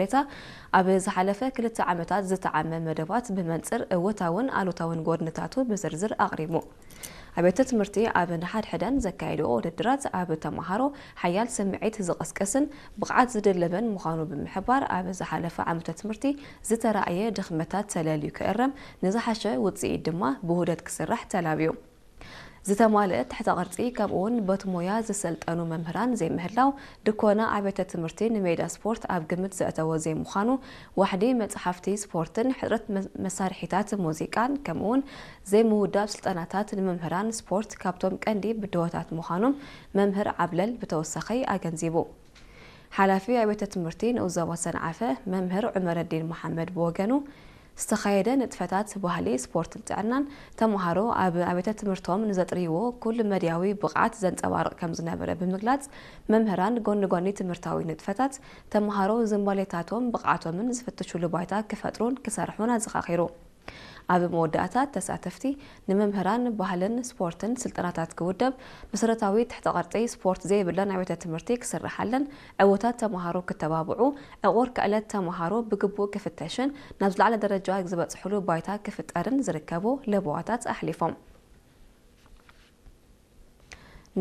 ሬታ ኣብ ዝሓለፈ ክልተ ዓመታት ዝተዓመ መደባት ብመንጽር እወታውን ኣሉታውን ጎድንታቱ ብዝርዝር ኣቕሪቡ። ኣብያተ ትምህርቲ ኣብ ንሓድሕደን ዘካየድኦ ውድድራት ኣብ ተመሃሮ ሓያል ስምዒት ዝቕስቅስን ብቕዓት ዝድልብን ምዃኑ ብምሕባር፣ ኣብ ዝሓለፈ ዓመተ ትምህርቲ ዝተራእየ ድኽመታት ተለልዩ ክእረም፣ ንዝሓሸ ውጽኢት ድማ ብውህደት ክስራሕ ተላብዩ። ዝተማልአ ትሕተ ቅርጺ ከምኡውን በቲ ሞያ ዝሰልጠኑ መምህራን ዘይምህላው፣ ድኮና ኣብያተ ትምህርቲ ንሜዳ ስፖርት ኣብ ግምት ዘእተወ ዘይምዃኑ፣ ዋሕዲ መጽሓፍቲ ስፖርትን ሕጽረት መ-፣ መሳርሒታት ሙዚቃን ከምኡውን ዘይምውዳብ ስልጠናታት ንመምህራን ስፖርት ካብቶም ቀንዲ ብድሆታት ምዃኖም መምህር ዓብለል ብተወሳኺ ኣገንዚቡ። ሓላፊ ኣብያተ ትምህርቲ ንኡስ ዞባ ሰንዓፈ መምህር ዑመረዲን መሓመድ ብወገኑ፣ ዝተኻየደ ንጥፈታት ባህሊ ስፖርትን ጥዕናን ተምሃሮ ኣብ ኣብያተ ትምህርቶም ንዘጥርይዎ ኩሉ መድያዊ ብቕዓት ዘንጸባርቕ ከም ዝነበረ ብምግላጽ፣ መምህራን ጎኒ ጎኒ ትምህርታዊ ንጥፈታት ተምሃሮ ዝንባሌታቶም ብቕዓቶምን ዝፍትሹሉ ባይታ ክፈጥሩን ክሰርሑን ኣዘኻኺሩ። ኣብ መወዳእታ ተሳተፍቲ ንመምህራን ባህልን ስፖርትን ስልጠናታት ክውደብ መሰረታዊ ትሕተ ቅርጺ ስፖርት ዘይብለን ኣብያተ ትምህርቲ ክስርሓለን ዕውታት ተምሃሮ ክተባብዑ ዕቑር ክእለት ተምሃሮ ብግቡእ ክፍተሽን ናብ ዝለዓለ ደረጃ ዝበጽሕሉ ባይታ ክፍጠርን ዝርከቡ ለበዋታት ኣሕሊፎም።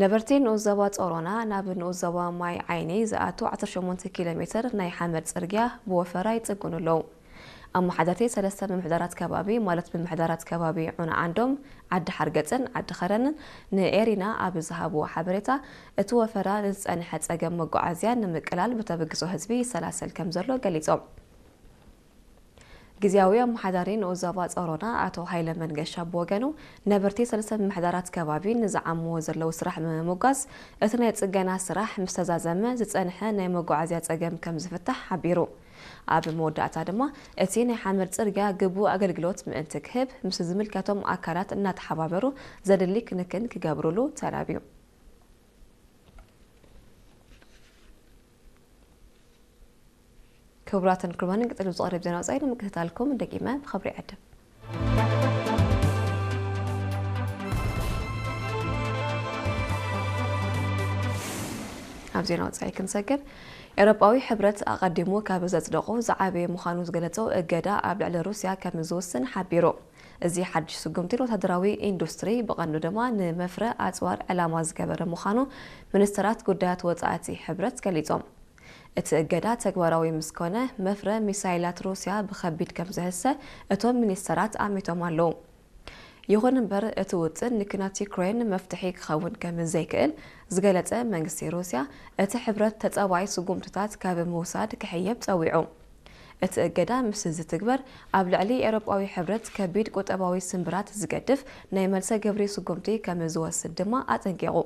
ነበርቲ ንኡስ ዞባ ጾሮና ናብ ንኡስ ዞባ ማይ ዓይኒ ዝኣቱ ዓሰርተ ሸሞንተ ኪሎ ሜትር ናይ ሓመድ ጽርግያ ብወፈራ ይጽግኑ ኣለዉ። ኣመሓዳርቲ ሰለስተ ምምሕዳራት ከባቢ፣ ማለት ምምሕዳራት ከባቢ ዑና ዓንዶም፣ ዓዲ ሓርገጽን ዓዲ ኸረንን ንኤሪና ኣብ ዝሃብዎ ሓበሬታ፣ እቲ ወፈራ ንዝጸንሐ ጸገም መጓዓዝያ ንምቅላል ብተበግሶ ህዝቢ ይሰላሰል ከም ዘሎ ገሊጾም። ግዝያዊ ኣመሓዳሪ ንኡስ ዞባ ጾሮና ኣቶ ሃይለ መንገሻ ብወገኑ፣ ነበርቲ ሰለስተ ምምሕዳራት ከባቢ ንዝዓምዎ ዘለዉ ስራሕ ብምምጓስ፣ እቲ ናይ ጽገና ስራሕ ምስ ተዛዘመ ዝጸንሐ ናይ መጓዓዝያ ጸገም ከም ዝፍታሕ ሓቢሩ። ኣብ መወዳእታ ድማ፣ እቲ ናይ ሓመድ ጽርግያ ግቡእ ኣገልግሎት ምእንቲ ክህብ፣ ምስ ዝምልከቶም ኣካላት እናተሓባበሩ ዘድሊ ክንክን ክገብሩሉ ተላብዩ። ክቡራትን ክቡራንን፣ ቀጺሉ ዝቐርብ ዜና ወጻኢ ንምክትታልኩም ደጊመ ብኽብሪ ይዕድም። ኣብ ዜና ወጻኢ ክንሰግር፣ ኤውሮጳዊ ሕብረት ኣቐዲሙ ካብ ዘጽደቑ ዝዓበየ ምዃኑ ዝገለጸ እገዳ ኣብ ልዕሊ ሩስያ ከም ዝውስን ሓቢሩ። እዚ ሓድሽ ስጉምቲ ንወታደራዊ ኢንዱስትሪ፣ ብቐንዱ ድማ ንመፍረ ኣጽዋር ዕላማ ዝገበረ ምዃኑ ሚኒስተራት ጉዳያት ወጻእቲ ሕብረት ገሊጾም። እቲ እገዳ ተግባራዊ ምስ ኮነ፣ መፍረ ሚሳይላት ሩስያ ብኸቢድ ከም ዝህሰ እቶም ሚኒስተራት ኣሚቶም ኣለዉ። ይኹን እምበር፣ እቲ ውጥን ንኲናት ዩክሬን መፍትሒ ክኸውን ከም ዘይክእል ዝገለጸ መንግስቲ ሩስያ፣ እቲ ሕብረት ተጻባኢ ስጉምትታት ካብ ምውሳድ ክሕየብ ጸዊዑ። እቲ እገዳ ምስ ዝትግበር፣ ኣብ ልዕሊ ኤውሮጳዊ ሕብረት ከቢድ ቁጠባዊ ስምብራት ዝገድፍ ናይ መልሰ ግብሪ ስጉምቲ ከም ዝወስድ ድማ ኣጠንቂቑ።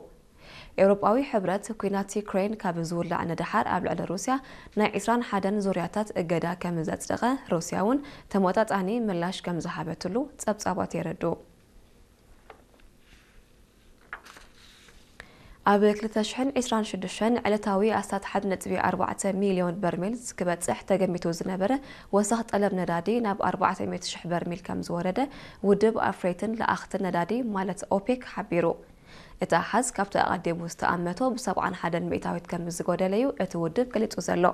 ኤውሮጳዊ ሕብረት፣ ኲናት ዩክሬን ካብ ዝውላዕ ንደሓር ኣብ ልዕሊ ሩስያ ናይ ዕስራን ሓደን ዙርያታት እገዳ ከም ዘጽደቐ፣ ሩስያ እውን ተመጣጣኒ ምላሽ ከም ዝሃበትሉ ጸብጻባት የረድኡ። ኣብ ክልተ ሽሕን ዕስራን ሽዱሽተን ዕለታዊ ኣስታት ሓደ ነጥቢ ኣርባዕተ ሚልዮን በርሜል ክበጽሕ ተገሚቱ ዝነበረ ወሰኽ ጠለብ ነዳዲ ናብ ኣርባዕተ ሚእቲ ሽሕ በርሜል ከም ዝወረደ ውድብ ኣፍረይትን ለኣኽትን ነዳዲ ማለት ኦፔክ ሓቢሩ። እቲ ኣሃዝ ካብቲ ኣቐዲሙ ዝተኣመቶ ብሰብዓን ሓደን ሚእታዊት ከም ዝጎደለ እዩ እቲ ውድብ ገሊጹ ዘሎ።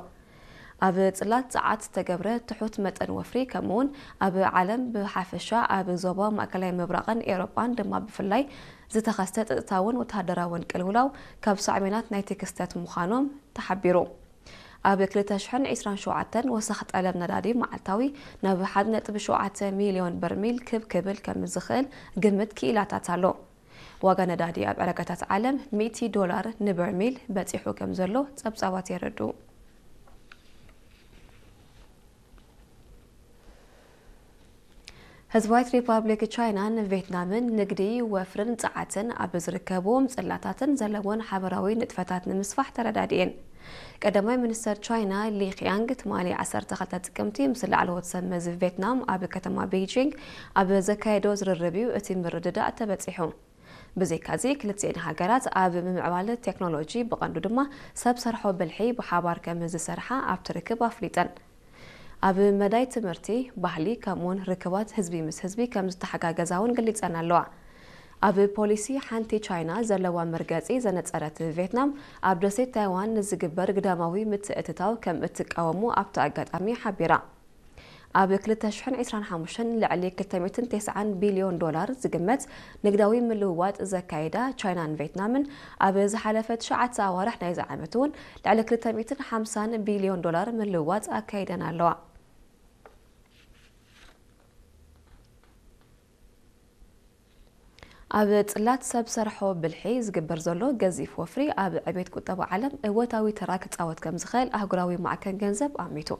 ኣብ ጽላት ጸዓት ዝተገብረ ትሑት መጠን ወፍሪ፣ ከምኡውን ኣብ ዓለም ብሓፈሻ ኣብ ዞባ ማእከላይ ምብራቕን ኤውሮጳን ድማ ብፍላይ ዝተኸስተ ጸጥታውን ወተሃደራውን ቅልውላው ካብ ሳዕቤናት ናይቲ ክስተት ምዃኖም ተሓቢሩ። ኣብ ክልተ ሽሕን ዕስራን ሸውዓተን ወሰኽ ጠለብ ነዳዲ መዓልታዊ ናብ ሓደ ነጥቢ ሸውዓተ ሚልዮን በርሚል ክብ ክብል ከም ዝኽእል ግምት ክኢላታት ኣሎ። ዋጋ ነዳዲ ኣብ ዕዳጋታት ዓለም ሚእቲ ዶላር ንበርሚል በጺሑ ከም ዘሎ ጸብጻባት የረድኡ። ህዝባዊት ሪፓብሊክ ቻይናን ቬትናምን ንግዲ፣ ወፍርን ጸዓትን ኣብ ዝርከብዎም ጽላታትን ዘለወን ሓበራዊ ንጥፈታት ንምስፋሕ ተረዳዲኤን። ቀዳማይ ሚኒስተር ቻይና ሊ ኺያንግ ትማሊ ዓሰርተ ክልተ ጥቅምቲ ምስ ላዕለዎት ሰብ መዚ ቬትናም ኣብ ከተማ ቤይጂንግ ኣብ ዘካየዶ ዝርርብ እዩ እቲ ምርድዳእ ተበጺሑ። ብዘይካዚ፣ ክልቲኤን ሃገራት ኣብ ምምዕባል ቴክኖሎጂ፣ ብቐንዱ ድማ ሰብ ሰርሖ ብልሒ ብሓባር ከም ዝሰርሓ ኣብቲ ርክብ ኣፍሊጠን። ኣብ መዳይ ትምህርቲ፣ ባህሊ፣ ከምኡውን ርክባት ህዝቢ ምስ ህዝቢ ከም ዝተሓጋገዛ እውን ገሊጸን ኣለዋ። ኣብ ፖሊሲ ሓንቲ ቻይና ዘለዋ መርገጺ ዘነጸረት ቬትናም፣ ኣብ ደሴት ታይዋን ንዝግበር ግዳማዊ ምትእትታው ከም እትቃወሙ ኣብቲ ኣጋጣሚ ሓቢራ። ኣብ ክልተ ሽሕን ዕስራን ሓሙሽተን ልዕሊ ክልተ ሚእትን ተስዓን ቢልዮን ዶላር ዝግመት ንግዳዊ ምልውዋጥ ዘካየዳ ቻይናን ቬትናምን፣ ኣብ ዝሓለፈ ትሽዓተ ኣዋርሕ ናይዚ ዓመት እውን ልዕሊ ክልተ ሚእትን ሓምሳን ቢልዮን ዶላር ምልውዋጥ ኣካይደን ኣለዋ። ኣብ ጽላት ሰብ ሰርሖ ብልሒ ዝግበር ዘሎ ገዚፍ ወፍሪ ኣብ ዕቤት ቁጠባ ዓለም እወታዊ ተራ ክጻወት ከም ዝኽእል ኣህጉራዊ ማዕከን ገንዘብ ኣሚቱ።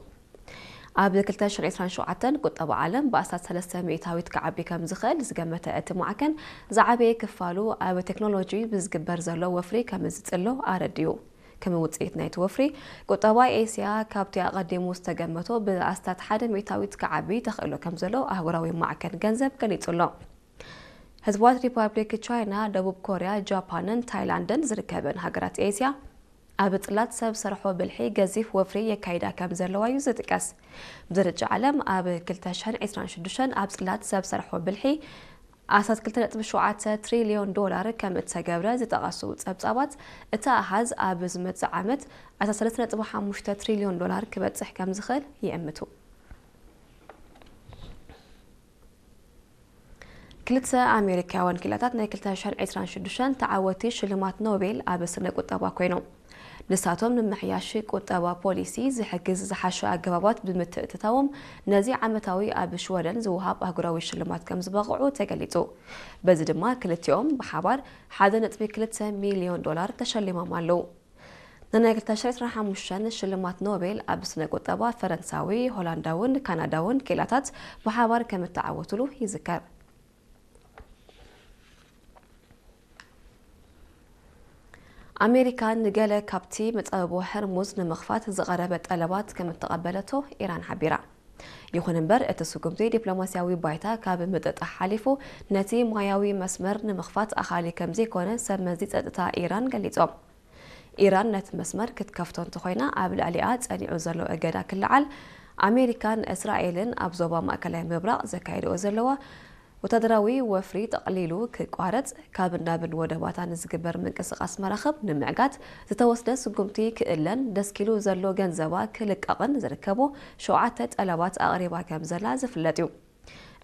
ኣብ ክልተ ሽሕን ዕስራን ሸውዓተን ቁጠባ ዓለም ብኣስታት ሰለስተ ሚእታዊት ክዓቢ ከም ዝኽእል ዝገመተ እቲ ማዕከን፣ ዝዓበየ ክፋሉ ኣብ ቴክኖሎጂ ብዝግበር ዘሎ ወፍሪ ከም ዝጽሎ ኣረዲኡ። ከም ውጽኢት ናይቲ ወፍሪ፣ ቁጠባ ኤስያ ካብቲ ኣቐዲሙ ዝተገመቶ ብኣስታት ሓደ ሚእታዊት ክዓቢ ተኽእሎ ከም ዘሎ ኣህጉራዊ ማዕከን ገንዘብ ገሊጹ ኣሎ። ህዝባት ሪፓብሊክ ቻይና፣ ደቡብ ኮርያ፣ ጃፓንን ታይላንድን ዝርከበን ሃገራት ኤስያ፣ ኣብ ጽላት ሰብ ሰርሖ ብልሒ ገዚፍ ወፍሪ የካይዳ ከም ዘለዋ እዩ ዝጥቀስ። ብደረጃ ዓለም ኣብ ክልተ ሽሕን ዕስራን ሽዱሽተን ኣብ ጽላት ሰብ ሰርሖ ብልሒ ኣስታት ክልተ ነጥቢ ሸውዓተ ትሪልዮን ዶላር ከም እተገብረ ዝጠቐሱ ጸብጻባት፣ እቲ ኣሃዝ ኣብ ዝመጽእ ዓመት ኣስታት ሰለስተ ነጥቢ ሓሙሽተ ትሪልዮን ዶላር ክበጽሕ ከም ዝኽእል ይእምቱ። ክልተ ኣሜሪካውያን ክኢላታት ናይ ክልተ ሽሕን ዕስራን ሽዱሽተን ተዓወቲ ሽልማት ኖቤል ኣብ ስነ ቁጠባ ኮይኖም። ንሳቶም ንምምሕያሽ ቁጠባ ፖሊሲ ዝሕግዝ ዝሓሸ ኣገባባት ብምትእትታዎም፣ ነዚ ዓመታዊ ኣብ ሽወደን ዝወሃብ ኣህጉራዊ ሽልማት ከም ዝበቕዑ ተገሊጹ። በዚ ድማ ክልቲኦም ብሓባር ሓደ ነጥቢ ክልተ ሚልዮን ዶላር ተሸሊሞም ኣለዉ። ንናይ ክልተ ሽሕን ዕስራን ሓሙሽተን ሽልማት ኖቤል ኣብ ስነ ቁጠባ ፈረንሳዊ፣ ሆላንዳውን ካናዳውን ክኢላታት ብሓባር ከም እተዓወቱሉ ይዝከር። ኣሜሪካ ንገለ ካብቲ መጻብቦ ሆርሙዝ ንምኽፋት ዝቐረበ ጠለባት ከም እተቐበለቶ ኢራን ሓቢራ። ይኹን እምበር፣ እቲ ስጉምቲ ዲፕሎማስያዊ ባይታ ካብ ምጥጣሕ ሓሊፉ፣ ነቲ ማያዊ መስመር ንምኽፋት ኣኻሊ ከም ዘይኮነ ሰብ መዚ ጸጥታ ኢራን ገሊጾም። ኢራን ነቲ መስመር ክትከፍቶ እንተኾይና፣ ኣብ ልዕሊኣ ጸኒዑ ዘሎ እገዳ ክለዓል፣ ኣሜሪካን እስራኤልን ኣብ ዞባ ማእከላይ ምብራቕ ዘካይድኦ ዘለዋ ወታደራዊ ወፍሪ ጠቕሊሉ ክቋረጽ፣ ካብን ናብን ወደባታ ንዝግበር ምንቅስቓስ መራኽብ ንምዕጋት ዝተወስደ ስጉምቲ ክእለን፣ ደስኪሉ ዘሎ ገንዘባ ክልቀቕን ዝርከቡ ሸውዓተ ጠለባት ኣቕሪባ ከም ዘላ ዝፍለጥ እዩ።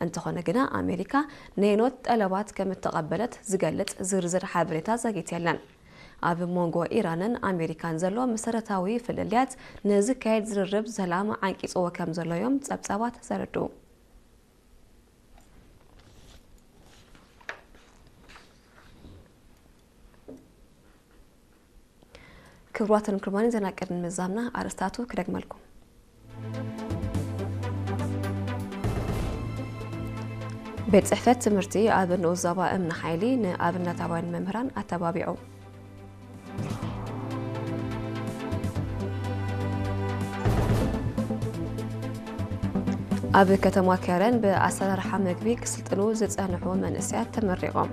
እንተኾነ ግና፣ ኣሜሪካ ነየኖት ጠለባት ከም እተቐበለት ዝገልጽ ዝርዝር ሓበሬታ ዘግየት የለን። ኣብ መንጎ ኢራንን ኣሜሪካን ዘሎ መሰረታዊ ፍልልያት ንዝካየድ ዝርርብ ሰላም ዓንቂጽዎ ከም ዘሎ እዮም ጸብጻባት ዘረድኡ። ክቡራትን ክቡራንን፣ ዜና ቅድሚ ምዛምና ኣርእስታቱ ክደግመልኩም። ቤት ጽሕፈት ትምህርቲ ኣብ ንኡስ ዞባ እምኒ ሓይሊ ንኣብነታውያን መምህራን ኣተባቢዑ። ኣብ ከተማ ከረን ብኣሰራርሓ መግቢ ክስልጥኑ ዝጸንሑ መንእሰያት ተመሪቖም።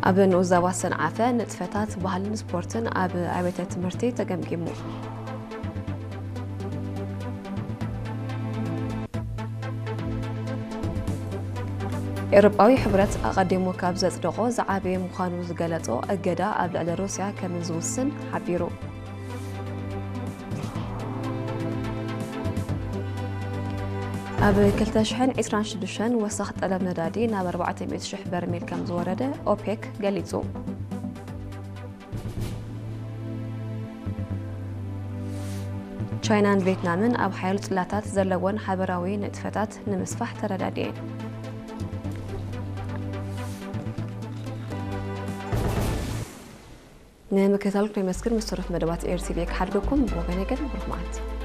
ኣብ ንኡስ ዞባ ሰንዓፈ ንጥፈታት ባህልን ስፖርትን ኣብ ኣብያተ ትምህርቲ ተገምጊሙ። ኤውሮጳዊ ሕብረት ኣቐዲሙ ካብ ዘጽደቖ ዝዓበየ ምዃኑ ዝገለጾ እገዳ ኣብ ልዕሊ ሩስያ ከም ዝውስን ሓቢሩ። ኣብ ክልተ ሽሕን ዕስራን ሽዱሽተን ወሰኽ ጠለብ ነዳዲ ናብ ኣርባዕተ ሚእቲ ሽሕ በርሜል ከም ዝወረደ ኦፔክ ገሊጹ። ቻይናን ቬትናምን ኣብ ሓያሎ ጽላታት ዘለወን ሓበራዊ ንጥፈታት ንምስፋሕ ተረዳዲኤን። ንምክትታልኩም የመስግን። ምስ ተረፍ መደባት ኤር ቲ ቪ ክሓድገኩም ብወገነይ ግን ብሩኽ መዓልቲ።